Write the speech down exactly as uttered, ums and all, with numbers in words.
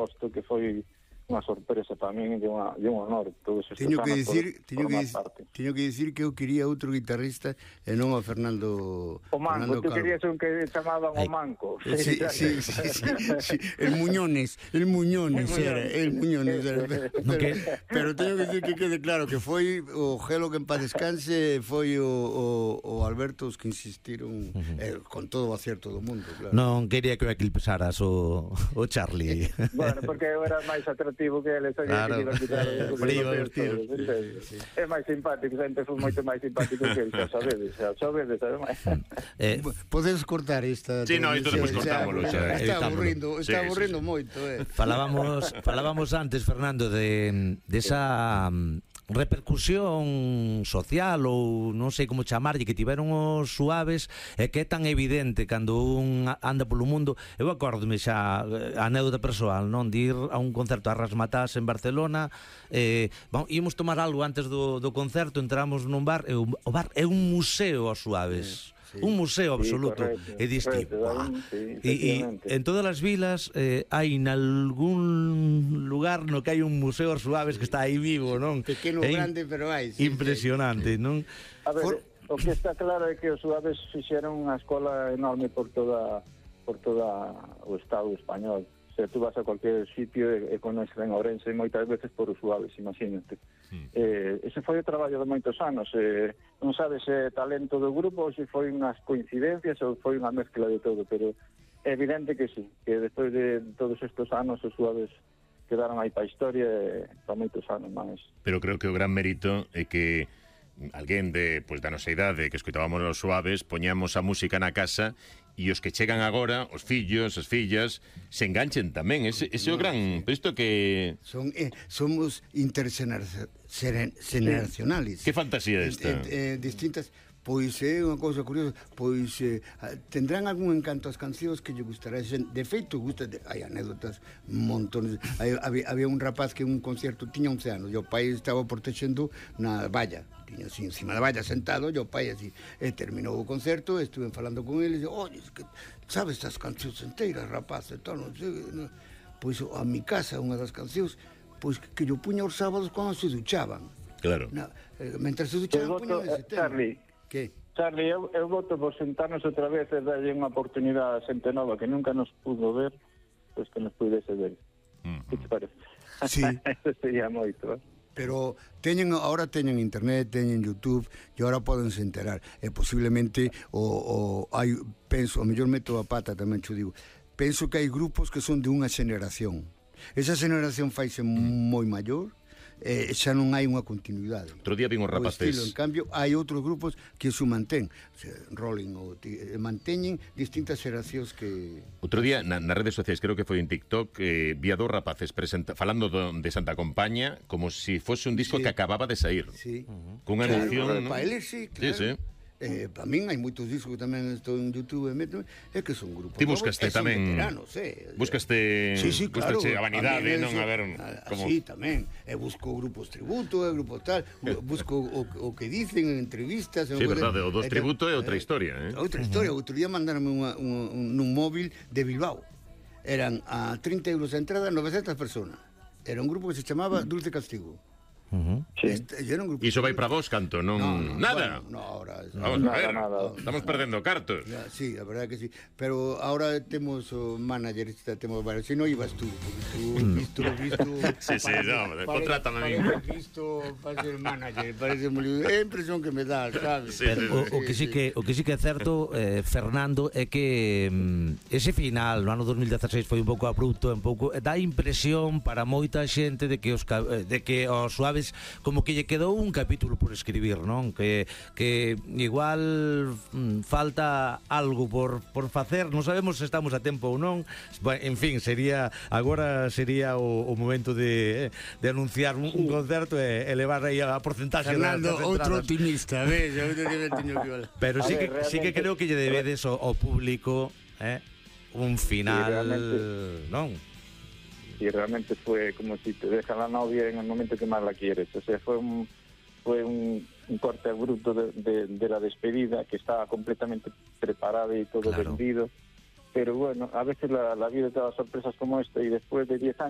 posto que foi unha sorpresa para min e un honor todos estes teño que anos dicir, por, teño por que, parte. teño que dicir que eu quería outro guitarrista e non a Fernando O Manco, tú querías un que chamaban o Manco. Sí, sí, sí, sí, sí, el Muñones, el Muñones era, el Muñones era. Pero, pero teño que dicir que quede claro que foi o Gelo que en paz descanse, foi o, o, o Alberto os que insistiron, uh-huh. eh, con todo o acierto do mundo, claro. Non quería que o equiliparas o, o Charlie. Bueno, porque eu era máis atractivo que ele, sabía claro. que iba a quitar eh, frío, os tiros. Sí, sí. É máis simpático, sempre foi moito máis simpático que ele, xa sabedes, xa sabedes, ademais. Eh, podes cortar esta. Sí, no, isto despois cortámoslo xa. Está aburrindo, está sí, aburrindo sí, sí. moito, eh. Falábamos, falábamos antes, Fernando, de desa de repercusión social ou non sei como chamarlle que tiveron os Suaves e que é tan evidente cando un anda polo mundo. Eu acórdome xa a anécdota persoal, non, de ir a un concerto a Rasmatás en Barcelona, eh, vamos, íamos tomar algo antes do, do concerto, entramos nun bar e o, o bar é un museo aos Suaves. Sí. Un museo absoluto, sí, e diste, sí, e, e en todas as vilas eh, hai nalgún lugar no que hai un museo aos Suaves que está aí vivo, non? Pequeno, é grande, pero hai sí, impresionante, sí. Non? A ver, For... o que está claro é que os Suaves fixeron unha escola enorme por toda por toda o Estado español. O sea, tú vas a cualquier sitio e, e conoces en Ourense moitas veces por os Suaves, imagínate. Mm. Eh, ese foi o traballo de moitos anos. Eh, non sabes se eh, talento do grupo ou se foi unhas coincidencias ou foi unha mezcla de todo, pero é evidente que sí, que despois de todos estes anos os Suaves quedaron aí para a historia e para moitos anos máis. Pero creo que o gran mérito é que alguén de, pues, da nosa idade que escoitábamos os Suaves poñamos a música na casa e os que chegan agora, os fillos, as fillas, se enganchen tamén. Ese, ese é o gran... Isto que... Son, eh, somos intergeneracionales. Que fantasía esta? Eh, eh, distintas... Pois é eh, unha cousa curiosa, pois eh, tendrán algún encanto as cancións que lle gustará. De feito, gusta de, hai anécdotas, montones. Hai, había, había un rapaz que en un concierto tiña once anos, e o pai estaba protexendo na valla, tiña así encima da valla sentado, e o pai así, e terminou o concerto, estuve falando con ele, e dixo, oye, que sabes estas cancións enteiras, rapaz, e tal, non sei, non. Pois a mi casa, unha das cancións, pois que yo puña os sábados cando se duchaban. Claro. Na, eh, mentre se duchaban, puña ese tema. Charlie, que? Charlie, eu, eu voto por sentarnos outra vez e darlle unha oportunidade a xente nova que nunca nos pudo ver, pois que nos pudese ver. Uh-huh. Que te parece? Sí. Eso sería moito, eh? Pero teñen, ahora teñen internet, teñen YouTube e ahora podense enterar. E posiblemente o, o hai, penso, a mellor meto a pata tamén, xo digo, penso que hai grupos que son de unha xeneración. Esa xeneración faise mm. moi maior, eh, xa non hai unha continuidade. Outro día vin os rapaces. Estilo, en cambio, hai outros grupos que se mantén, o sea, Rolling ou eh, manteñen distintas xeracións que... Outro día na, nas redes sociais, creo que foi en TikTok, eh, vi a dos rapaces presenta, falando do, de Santa Compaña como se si fose un disco sí. que acababa de sair. Sí. Uh-huh. Con unha claro, emoción, ¿no? Para eles sí, claro. Sí, sí. Eh, para min hai moitos discos que tamén estou en YouTube e meto, é que son grupos. Ti buscaste tamén veteranos, eh. Buscaste, sí, sí, claro, buscaste a vanidade, non a ver como sí, tamén. E busco grupos tributo, e grupos tal, busco o, o que dicen en entrevistas, sí, verdade, o dos tributo é outra historia, eh. Outra historia, outro día mandaronme unha, un, un, un móvil de Bilbao. Eran a trinta euros a entrada, novecentas personas. Era un grupo que se chamaba Dulce Castigo. Uh-huh. Sí. Este, e iso vai para vos, canto, non... No, no, nada. Bueno, no, ahora, vamos nada, a ver, nada. estamos perdendo cartos. Ya, sí, a verdade que sí. Pero ahora temos o manager, temos varios. Si non ibas tú, tú visto, visto... Sí, sí, no, contrátame a mí. Parece visto para ser manager, parece moi... É a impresión que me dá, sabes? Sí, sí, sí. O, o que sí que o que sí que é certo, eh, Fernando, é que mm, ese final no ano dos mil dieciséis foi un pouco abrupto, un pouco dá impresión para moita xente de que os de que os Suaves como que lle quedou un capítulo por escribir, non? Que, que igual mm, falta algo por, por facer, non sabemos se estamos a tempo ou non. En fin, sería agora sería o, o momento de, de anunciar un, un concerto e elevar aí a porcentaxe. Fernando, outro optimista, ves? Pero sí que, sí que creo que lle debedes ao, ao público eh, un final, sí, non? Y realmente fue como si te deja la novia en el momento que más la quieres. O sea, fue un, fue un, un corte abrupto de, de, de la despedida, que estaba completamente preparada y todo claro. vendido. Pero bueno, a veces la, la vida te da sorpresas como esta, y después de diez años